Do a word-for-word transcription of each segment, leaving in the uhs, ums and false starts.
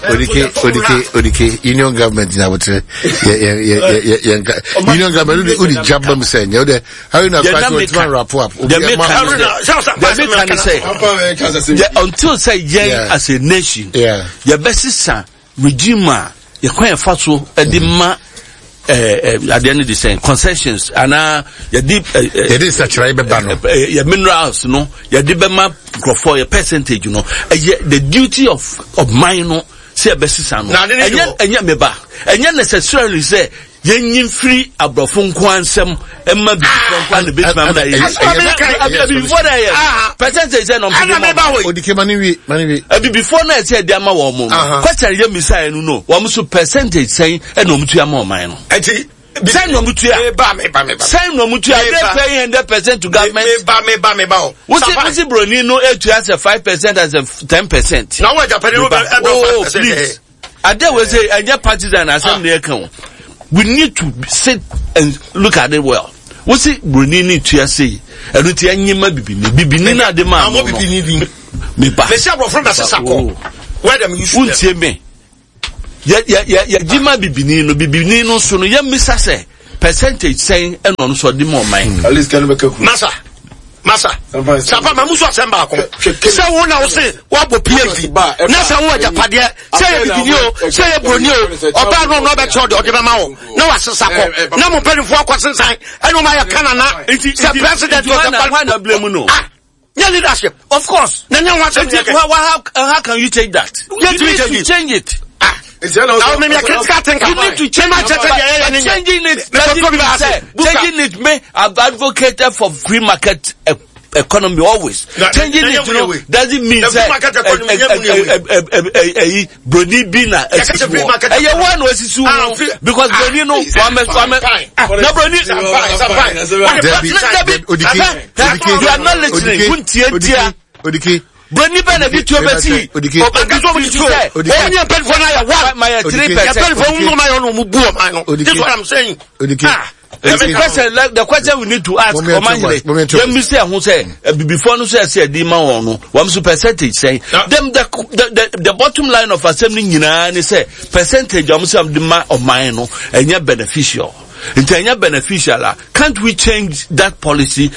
Odike, Odike, Odike, union government na wote ye ye ye ye ye union government udi jabba mu sɛ nyɛ wode Haruna kwasi otuma wrap up. The make can say until sɛ yɛn as a nation yɛbɛsesa regime a yɛkwan yɛfa so ɛde ma adeɛ no de sɛn concessions anaa yɛde yɛde nsakyerɛ bɛba no yɛ minerals no yɛde bɛma nkurɔfoɔ yɛ percentage no ɛyɛ the duty of of mine no sɛ yɛbɛsesa no ɛnyɛ ɛnyɛ meba ɛnyɛ necessarily sɛ yɛnyi mfiri aborɔfo nko ansɛm ɛma bibifoɔ nko ana bɛtumi ama yɛ abibifoɔ na ɛyɛ percentage sɛ na ɔmo de ma wɔn odike ma ne wie ma ne wie abibifoɔ na ɛsɛ ɛde ama wɔn mo question yɛ misa yɛ no no wɔn so percentage sɛn ɛna ɔmo tua ma ɔman no ɛti sɛn na ɔmo tua sɛn na ɔmo tua they pay hundred percent to government meba meba meba o wosi wosi broni no etua sɛ five percent as a ten percent na wɔn agyapadeɛ no bɛ oh please ade wo sɛ ɛnyɛ partisan asɛm na ɛka o. We need to sit and look at it well. Wosi broni ni tua sei ɛnu ti ɛnyima bibini bibini na ade maa no no mi ba mesi aborɔfo na sisa kɔ where them use them wuntie me yɛ yɛ yɛ yɛ gyima bibini no bibini no so no yɛ misa sɛ percentage sɛn ɛna ɔno so ɔde ma ɔman. At least kanu bɛ kɛ kuru. Masa masa safa ma musu asɛm baako sɛ wo na wo se woabɔ phd na sɛ wo agyapadeɛ sɛ yɛ bibini o sɛ yɛ buroni o ɔbaa no ɔno ɔbɛkyerɛ ɔde ɔde bɛma wo na wasesa kɔ na mo mpanimfoɔ akɔ sensan ɛne ɔma yɛ kanana sɛ president ɔsɛ no nyɛ leadership of course na nyɛ ho asɛm yɛ how, how, how can you change that you need to change it. Ah. Now, maybe a critical thinker. You need to change it. But changing it, changing it, me, I've advocated for free market economy always. Na, changing na, it, you know, doesn't mean say broni bi na esisi wɔ. Ɛyɛ wɔn na osisi wɔ because broni no wame wame na broni. Debi Odike Odike you are not listening. Kuntie tia. Odike. Broni bɛ na bi tuo bɛ si. Odike. Obi tuo bi sɛ. Wɔn nyɛ mpanyinfoɔ na yɛ one. Ma yɛ three percent. Yɛ mpanyinfoɔ mu ma yɛ ɔno mu bu ɔman no. This is what I'm saying. Odike. Ah. The question, like, the question we need to ask, Omahene, yɛn mi sɛ ɛho sɛ abibifoɔ no so ɛsɛ ɛdi ma wɔn no, wɔn so percentage sɛn. Dem the the the bottom line of asɛm no nyinaa ni sɛ percentage a wɔn sɛ wɔn de ma ɔman no ɛnyɛ beneficial. Nti ɛnyɛ beneficial a, can't we change that policy?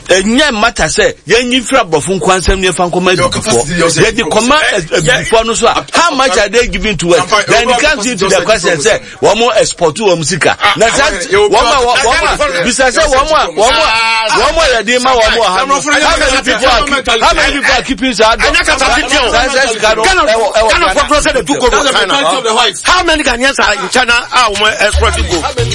Ɛnyɛ matter sɛ yɛn nyi fira aborɔfo nko ansɛm ne yɛfa nkɔma abibifoɔ. Yɛde kɔma abibifoɔ no so a, how much are they giving to us? Then it comes into the question sɛ wɔn mo export wɔn sika. Na sɛ wɔn a wɔn a bisa sɛ wɔn a wɔn a wɔn a yɛde ma wɔn wɔ ha no, how many people are how many people are keeping saa dɔ saa saa sika no ɛwɔ ɛwɔ Ghana for sɛ de tu gold wɔ China. How many Ghanaians are in China a wɔn export gold?